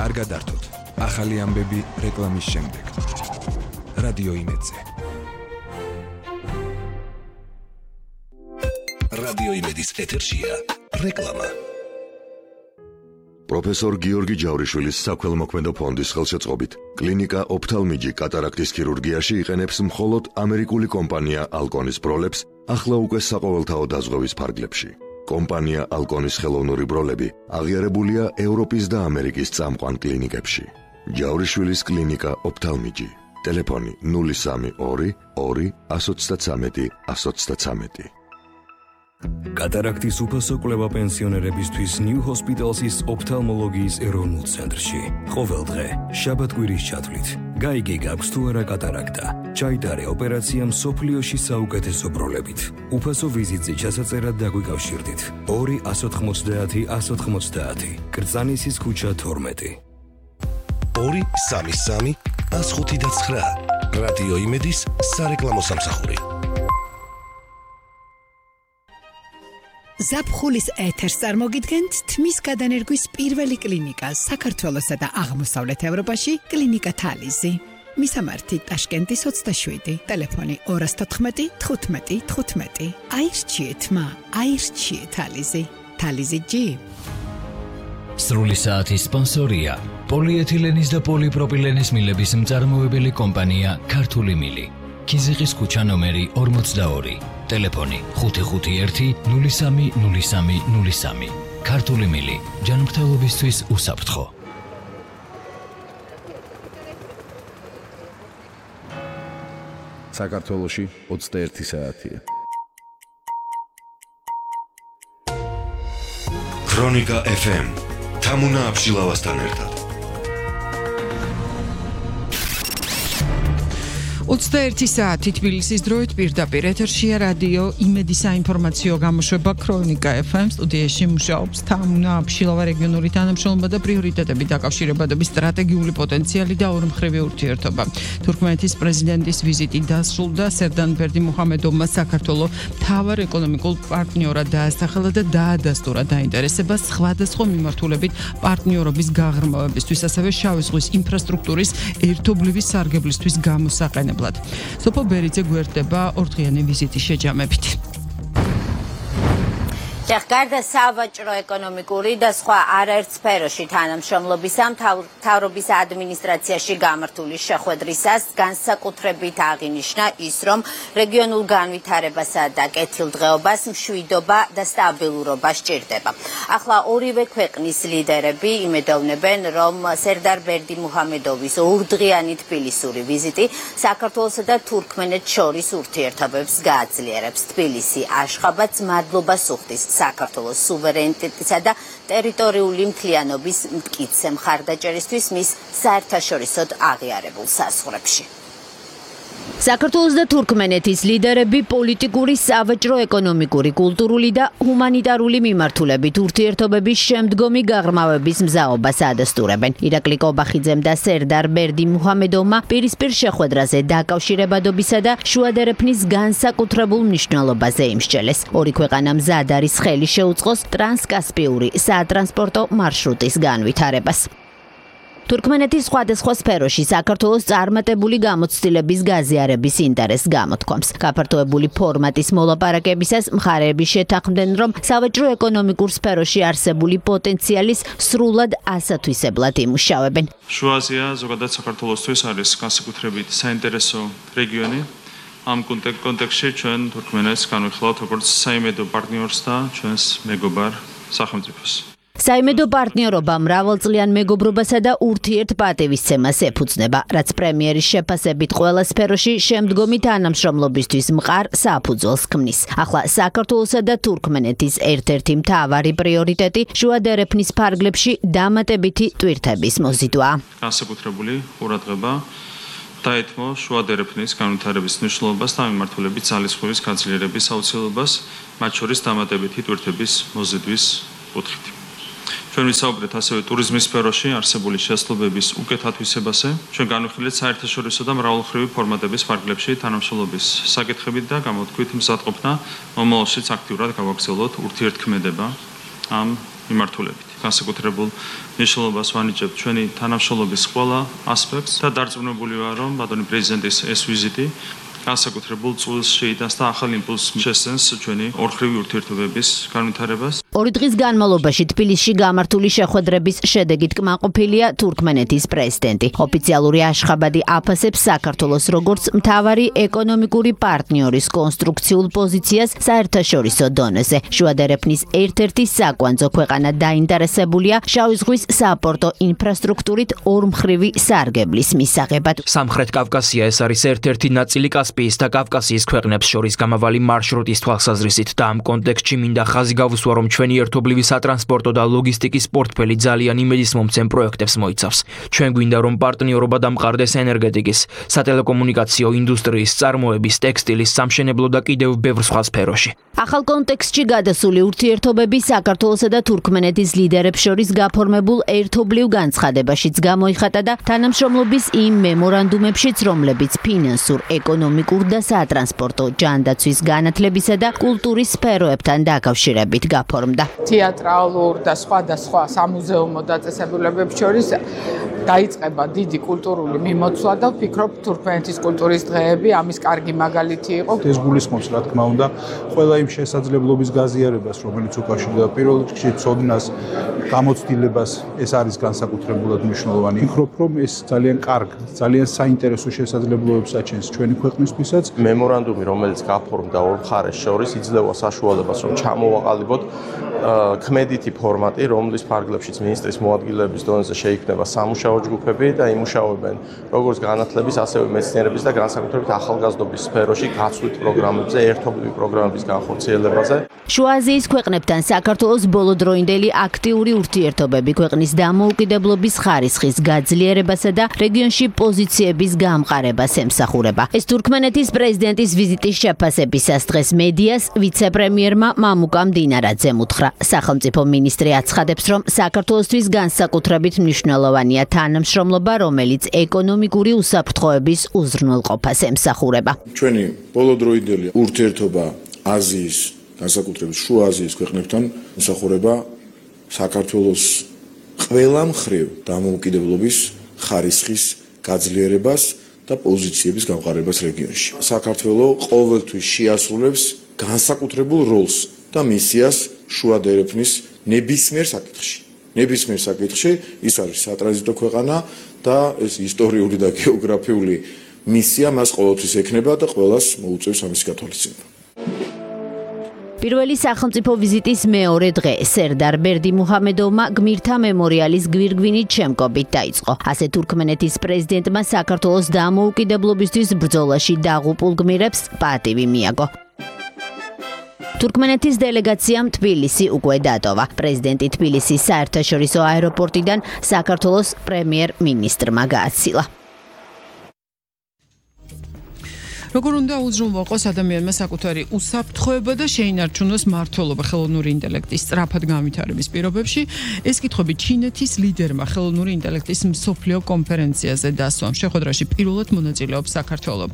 არ გადართოთ. ახალი ამბები რეკლამის შემდეგ. რადიო იმედზე. რადიო იმედის ეთერშია რეკლამა. პროფესორ გიორგი ჯავრიშვილის საქველმოქმედო ფონდის ხელშეწყობით კლინიკა ოფთალმიჯი კატარაქტის ქირურგიაში იყენებს მხოლოდ ამერიკული კომპანია ალკონის ბროლებს ახლა უკვე საყოველთაო დაზღვევის ფარგლებში. კომპანია ალკონის ხელოვნური ბროლები აღიარებულია ევროპის და ამერიკის წამყვან კლინიკებში. ჯავრიშვილის კლინიკა ოფთალმიჯი. ტელეფონი 032 2 133 133. კატარაქტის უფასო კვლევა პენსიონერებისთვის New Hospital's ოფთალმოლოგიის ეროვნულ ცენტრში. ყოველ დღე, შაბათ-კვირის ჩათვლით. გაიგე გაქვს თუ არა კატარაქტა. ჩაიტარე ოპერაცია მსოფლიოში საუკეთესო ბროლებით. უფასო ვიზიტზე ჩასაწერად დაგვიკავშირდით. 2 190 190. კრწანისის ქუჩა 12. 2 33 159. რადიო იმედის სარეკლამო სამსახური. ზაფხულის ეთერს წარმოგიდგენთ თმის გადანერგვის პირველი კლინიკა საქართველოსა და აღმოსავლეთ ევროპაში კლინიკა თალიზი. მისამართი ტაშკენტის 27, ტელეფონი 214 15 15. აირჩიეთ მა, აირჩიეთ თალიზი. თალიზი G. სრული საათის სპონსორია პოლიეთილენის და პოლიპროპილენის მილების მწარმოებელი კომპანია ქართული მილი. ქიზიყის ქუჩა ნომერი 42. ტელეფონი 551 03 03 03. ქართული მილი ჯანმრთელობისთვის უსაფრთხო. საქართველოში 21 საათია. ქრონიკა FM თამუნა აბშილავასთან ერთად. 21 საათი თბილისის დროით პირდაპირ ეთერშია რადიო იმედის საინფორმაციო გამოშვება ქრონიკა FM. სტუდიაში მუშაობს თამუნა აბშილავა, რეგიონული თანამშრომლობა და პრიორიტეტები, დაკავშირებადობის სტრატეგიული პოტენციალი და ორმხრივი ურთიერთობა. თურქმენეთის პრეზიდენტის ვიზიტი დასრულდა. სერდან ბერდიმუჰამედოვმა საქართველოს მთავარ ეკონომიკურ პარტნიორად დაასახელა და დაადასტურა დაინტერესება სხვადასხვა მიმართულებით პარტნიორობის გაღრმავებისთვის, ასევე შავი ზღვის ინფრასტრუქტურის ერთობლივი სარგებლისთვის გამოსაყენებლად. სოფო ბერიძე გვერდება ორდღიანი ვიზიტის შეჯამებით. გარდა სავაჭრო, ეკონომიკური და სხვა არაერთ სფეროში თანამშრომლობისა, მთავრობის ადმინისტრაციაში გამართული შეხვედრისას განსაკუთრებით აღინიშნა ის, რომ რეგიონულ განვითარებასა და კეთილდღეობას მშვიდობა და სტაბილურობა სჭირდება. ახლა ორივე ქვეყნის ლიდერები იმედოვნებენ, რომ სერდარ ბერდიმუჰამედოვის ორდღიანი თბილისური ვიზიტი საქართველოსა და თურქმენეთს შორის ურთიერთობებს გააძლიერებს. თბილისი აშხაბადს მადლობას უხდის საქართველოს სუვერენიტეტისა და ტერიტორიული მთლიანობის მტკიცე მხარდაჭერისთვის მის საერთაშორისოდ აღიარებულ საზღვრებში. საქართველოს და თურქმენეთის ლიდერები პოლიტიკური, სავაჭრო, ეკონომიკური, კულტურული და ჰუმანიტარული მიმართულებით ურთიერთობების შემდგომი გაღრმავების მზაობას ადასტურებენ. ირაკლი კობახიძემ და სერდარ ბერდიმუჰამედოვმა პირისპირ შეხვედრაზე დაკავშირებადობისა და შუადერეფნის განსაკუთრებულ მნიშვნელობაზე იმსჯელეს. ორი ქვეყანა მზად არის ხელი შეუწყოს ტრანსკასპიური სატრანსპორტო მარშრუტის განვითარებას. თურქმენეთის სხვადასხვა სფეროში საქართველოს წარმატებული გამოცდილების გაზიარების ინტერესს გამოთქვამს. გაფართოებული ფორმატის მოლაპარაკებისას მხარეები შეთანხმდნენ, რომ სავაჭრო ეკონომიკურ სფეროში არსებული პოტენციალის სრულად ასათვისებლად იმუშავებენ. შუა აზია ზოგადად საქართველოსთვის არის განსაკუთრებით საინტერესო რეგიონი. ამ კონტექსტში ჩვენ თურქმენეთს განვიხილავთ როგორც საიმედო პარტნიორს და ჩვენს მეგობარ სახელმწიფოს. საიმედო პარტნიორობა მრავალწლიან მეგობრობასა და ურთიერთპატივისცემას ეფუძნება, რაც პრემიერის შეფასებით ყველა სფეროში შემდგომი თანამშრომლობისთვის მყარ საფუძველს ქმნის. ახლა საქართველოსა და თურქმენეთის ერთ-ერთი მთავარი პრიორიტეტი შუადერეფნის ფარგლებში დამატებითი ტვირთების მოზიდვაა. განსაკუთრებული ყურადღება დაეთმო შუადერეფნის განვითარების მნიშვნელობას და მიმართულებით ძალისხმევის გაძლიერების აუცილებლობას, მათ შორის დამატებითი ტვირთების მოზიდვის კუთხით. ჩვენ ვისაუბრეთ ასევე ტურიზმის სფეროში არსებული შესაძლებლობების უკეთ ათვისებაზე. ჩვენ განვიხილეთ საერთაშორისო და მრავალმხრივი ფორმატების ფარგლებში თანამშრომლობის საკითხებით და გამოვთქვით მზადყოფნა მომავალშიც აქტიურად გავაგრძელოთ ურთიერთქმედება ამ მიმართულებით. განსაკუთრებულ მნიშვნელობას ვანიჭებთ ჩვენი თანამშრომლობის ყველა ასპექტს და დარწმუნებული ვარ, რომ ბატონი პრეზიდენტის ეს ვიზიტი განსაკუთრებულ წვლილს შეიტანს და ახალ იმპულსს შესცემს ჩვენი ორხრივი ურთიერთობების განვითარებას. 2 დღის განმავლობაში თბილისში გამართული შეხვედრების შედეგით კმაყოფილია თურქმენეთის პრეზიდენტი. ოფიციალური აშხაბადი აფასებს საქართველოს როგორც მთავარი ეკონომიკური პარტნიორის კონსტრუქციულ პოზიციას საერთაშორისო დონეზე. შუადერეფნის ერთ-ერთი საკვანძო ქვეყანა დაინტერესებულია შავი ზღვის საპორტო ინფრასტრუქტურით ორმხრივი სარგებლის მისაღებად. სამხრეთ კავკასია ეს არის ერთ-ერთი ნაწილი კასპიის და კავკასიის ქვეყნებს შორის გამავალი მარშრუტის თვალსაზრისით და ამ კონტექსტში მინდა ხაზი გავუსვა, რომ ჩვენი ერთობლივი სატრანსპორტო და ლოგისტიკის პორტფელი ძალიან იმედისმომცემ პროექტებს მოიცავს. ჩვენ გვინდა, რომ პარტნიორობა დამყარდეს ენერგეტიკის, სატელეკომუნიკაციო ინდუსტრიის, წარმოების, ტექსტილის, სამშენებლო და კიდევ ბევრ სხვა სფეროში. ახალ კონტექსტში გადასული ურთიერთობები საქართველოსა და თურქმენეთის ლიდერებს შორის გაფორმებულ ერთობლივ განცხადებაშიც გამოიხატა და თანამშრომლობის იმ მემორანდუმებშიც, რომლებიც ფინანსურ, ეკონომიკურ და სატრანსპორტო, ჯანდაცვის, განათლებისა და კულტურის სფეროებთან დაკავშირებით გაფორმდა. თეატრალურ და სხვა სამუზეუმო დაწესებულებებს შორის დაიწყება დიდი კულტურული მიმოცვლა და ვფიქრობ, თურქმენეთის კულტურის დღეები ამის კარგი მაგალითი იყო. ეს გულისხმობს, რა თქმა უნდა, ყველა იმ შესაძლებლობის გაზიარებას, რომელიც უკავშირდება პირველ რიგში ცოდნას, გამოცდილებას, ეს არის განსაკუთრებულად მნიშვნელოვანი. ვფიქრობ, რომ ეს ძალიან კარგი, ძალიან საინტერესო შესაძლებლობებს აჩენს ჩვენი ქვეყნისთვისაც. მემორანდუმი, რომელიც გაფორმდა ორ მხარეს შორის, იძლევა საშუალებას, რომ ჩამოვაყალიბოთ ქმედითი ფორმატი, რომლის ფარგლებშიც მინისტრის მოადგილეების დონეზე შეიქმნება სამუშაო ჯგუფები და იმუშავებენ როგორც განათლების, ასევე მეცნიერების და განსაკუთრებით ახალგაზრდობის სფეროში გაცვლით პროგრამებზე, ერთობლივი პროგრამების განხორციელებაზე. შუა აზიის ქვეყნებთან საქართველოს ბოლოდროინდელი აქტიური ურთიერთობები ქვეყნის დამოუკიდებლობის ხარისხის გაძლიერებასა და რეგიონში პოზიციების გამყარებას ემსახურება. ეს თურქმენეთის პრეზიდენტის ვიზიტის შეფასებისას დღეს მედიას ვიცე-პრემიერმა მამუკა მდინარაძემ უთხრა. სახელმწიფო მინისტრი აცხადებს, რომ საქართველოსთვის განსაკუთრებით მნიშვნელოვანია თანამშრომლობა, რომელიც ეკონომიკური უსაფრთხოების უზრუნველყოფას ემსახურება. ჩვენი ბოლოდროინდელი ურთიერთობა აზიის, განსაკუთრებით შუა აზიის ქვეყნებთან ემსახურება საქართველოს ყველა მხრივ დამოუკიდებლობის ხარისხის გაძლიერებას და პოზიციების გამყარებას რეგიონში. საქართველო ყოველთვის შეასრულებს განსაკუთრებულ როლს და მისიას შუადერეფნის ნებისმიერ საკითხში. ის არის სატრანზიტო ქვეყანა და ეს ისტორიული და გეოგრაფიული მისია მას ყოველთვის ექნება და ყველას მოუწევს ამის გათვალისწინება. პირველი სახელმწიფო ვიზიტის მეორე დღე სერდარ ბერდიმუჰამედოვმა გმირთა მემორიალის გვირგვინით შემკობით დაიწყო. ასე თურქმენეთის პრეზიდენტმა საქართველოს დამოუკიდებლობისთვის ბრძოლაში დაღუპულ გმირებს პატივი მიაგო. თურქმენეთის დელეგაციამ თბილისი უკვე დატოვა. პრეზიდენტი თბილისის საერთაშორისო აეროპორტიდან საქართველოს პრემიერ-მინისტრმა გააცილა. როგორ უნდა უზრუნველყოს ადამიანმა საკუთარი უსაფრთხოება და შეინარჩუნოს მმართველობა ხელოვნური ინტელექტის სწრაფად განვითარების პირობებში? ეს კითხვები ჩინეთის ლიდერმა ხელოვნური ინტელექტის მსოფლიო კონფერენციაზე დასვამ. შეხვედრაში პირველად მონაწილეობს საქართველო.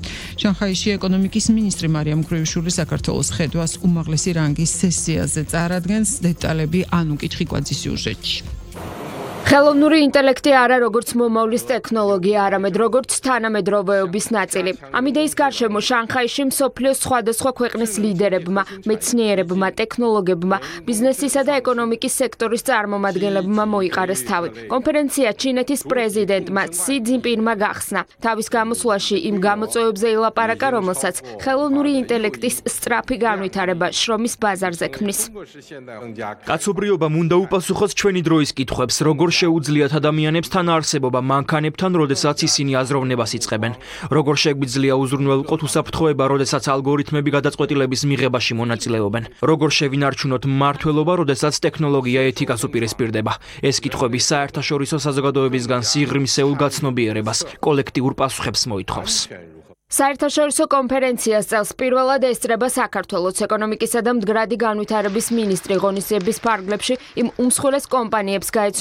შანხაიში ეკონომიკის მინისტრი მარიამ მკრივიშვილი საქართველოს ხედვას უმაღლესი რანგის სესიაზე წარადგენს. დეტალები ანუ კითხიკვაძის სიუჟეტში. ხელოვნური ინტელექტი არა როგორც მომავლის ტექნოლოგია, არამედ როგორც თანამედროვეობის ნაწილი. ამ იდეის გარშემო შანხაიში მსოფლიოს სხვადასხვა ქვეყნის ლიდერებმა, მეცნიერებმა, ტექნოლოგებმა, ბიზნესისა და ეკონომიკის სექტორის წარმომადგენლებმა მოიყარეს თავი. კონფერენცია ჩინეთის პრეზიდენტმა სი ძინპინმა გახსნა. თავის გამოსვლაში იმ გამოწვევებზე ილაპარაკა, რომელსაც ხელოვნური ინტელექტის სწრაფი განვითარება შრომის ბაზარზე ქმნის. კაცობრიობამ უნდა უპასუხოს ჩვენი დროის კითხვებს, როგორ შეუძლიათ ადამიანებს თან არსებობა მანქანებთან, როდესაც ისინი აზროვნებას იწყებენ. როგორ შეგვიძლია უზრუნველყოთ უსაფრთხოება, როდესაც ალგორითმები გადაწყვეტილების მიღებაში მონაწილეობენ. როგორ შევინარჩუნოთ მმართველობა, როდესაც ტექნოლოგია ეთიკას უპირისპირდება. ეს კითხვები საერთაშორისო საზოგადოებისგან სიღრმისეულ გაცნობიერებას, კოლექტიურ პასუხებს მოითხოვს. საერთაშორისო კონფერენციას წელს პირველად ესწრება საქართველოს ეკონომიკისა და მდგრადი განვითარების მინისტრი ღონისძიების ფარგლებში იმ უმსხვილეს კომპანიებს გაეცნო